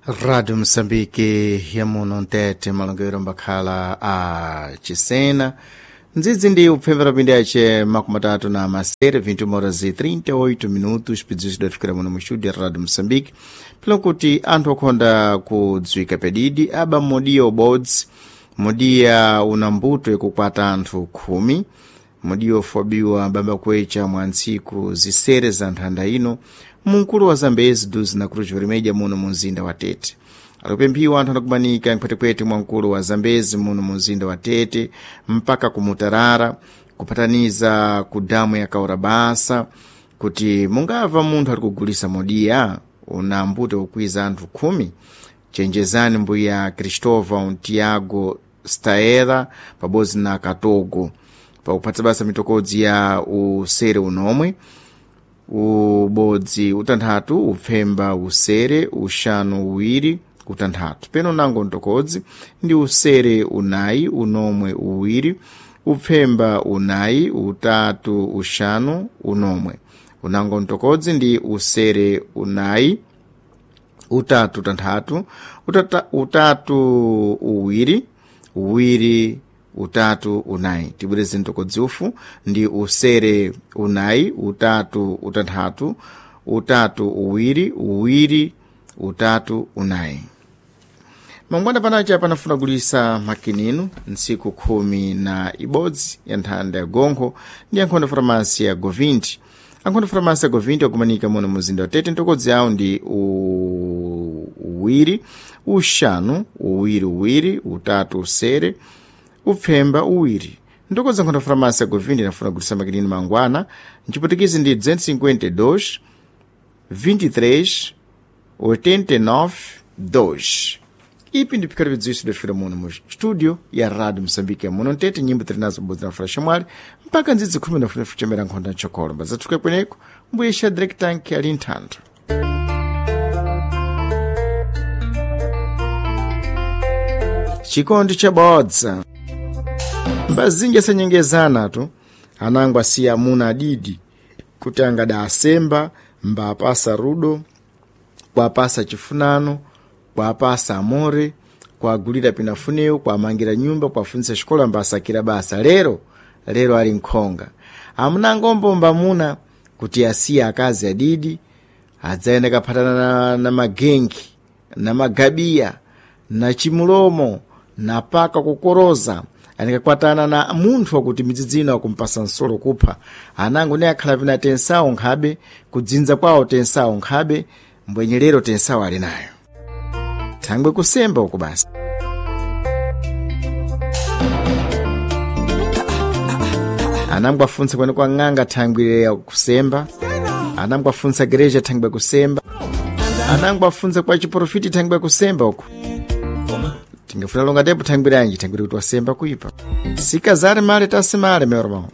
Rádio Moçambique yamuno mtete malongero mbakhala a Chisena ndzidzi ndi upfembera pindi ace makumi atatu na masere 21 horas e 38 minutos pidziwisi dafikira muno mu studio ya Rádio Moçambique pelo kuti anthu akhonda kudziwika pedidi aba modiya ubodzi modiya una mbuto ikukwata anthu 10 mudiyo ofobiwa baba kwecha mwa ntsiku zisere za nthanda ino mumkulu wa Zambezi duzi na Cruz Vermelha muno mu mzinda wa Tete. Alikupemphiwa anthu anakumanika mphwetekwete mwa mkulu wa Zambezi muno mu mzinda wa Tete mpaka kumutarara kupataniza ku damu ya Kaurabasa kuti mungava munthu ali kugulisa modiya una mbuto ukwiza anthu 10 chenjezani mbuya Cristóvão Tiago Staera pabodzi na Katogo pakuphatsa basa mitokodzi ya usere unomwe ubodzi utanthatu upfemba usere uxanu uwiri utanthatu peno nango mtokodzi ndi usere unayi unomwe uwiri upfemba unayi utatu uxanu unomwe unango mtokodzi ndi usere unayi utatu utanthatu utatu uwiri uwiri utatu unayi tibwereze mtokodzi ufu ndi usere unayi utatu utanthatu utatu uwiri uwiri utatu unayi mangwana panacha panafuna kulisa makininu ntsiku 11 ya nthanda ya gonkho ndi ankhondo farmasi ya govinti ankhondo farmasi ya govinti akumanika muno muzinda wa Tete ntokodzi yawo ndi uwiri uxanu uwiri uwiri utatu usere upfemba uwiri ntokodzi ankhondo farmasi ya govinti inafuna kulisa makinini mangwana mciputikizi ndi 252 23 89 2 ipi ndi pikati vidziwiso dafira muno mu studio ya Rádio Moçambique muno ntete nyimbo tiri nazo bodzi na fulaxa mwali mpaka ndzidzi 10 nafuna fuchemera nkhonda mchokolo mbazathuka kweneko mbuye Shadrack Tank ali nthantho. Chikondi chabodza mbazinji asanyengezana tu anango asiya amuna adidi kuti angada asemba mbapasa rudo kwapasa chifunano kwapasa amore kwagulira pinafunewo kwamangira nyumba kwafunzisa xikola mbasakira basa lero lero ali nkhonga amunangombo mbamuna kuti asiye akazi adidi adzayenda kaphatana na magengi na magabiya na chimulomo na paka kukoroza anikakwatana na munthu wakuti midzidzi ino akumpasa nsolo kupha anango ne akhala pina tensawo nkhabe kudzinza kwawo tensawo nkhabe mbwenyelero tensawo ali nayo thangwe kusemba uku basi. Anango afunsa kwene kwa ng'anga thangwe ya kusemba anango afunsa gereja thangwe kusemba anango afunsa kwa chiprofiti thangwe kusemba uku tingafuna longa tepo thangwiranji thangwiri kuti wasemba kuipa sikazare male tasimale meu irmão.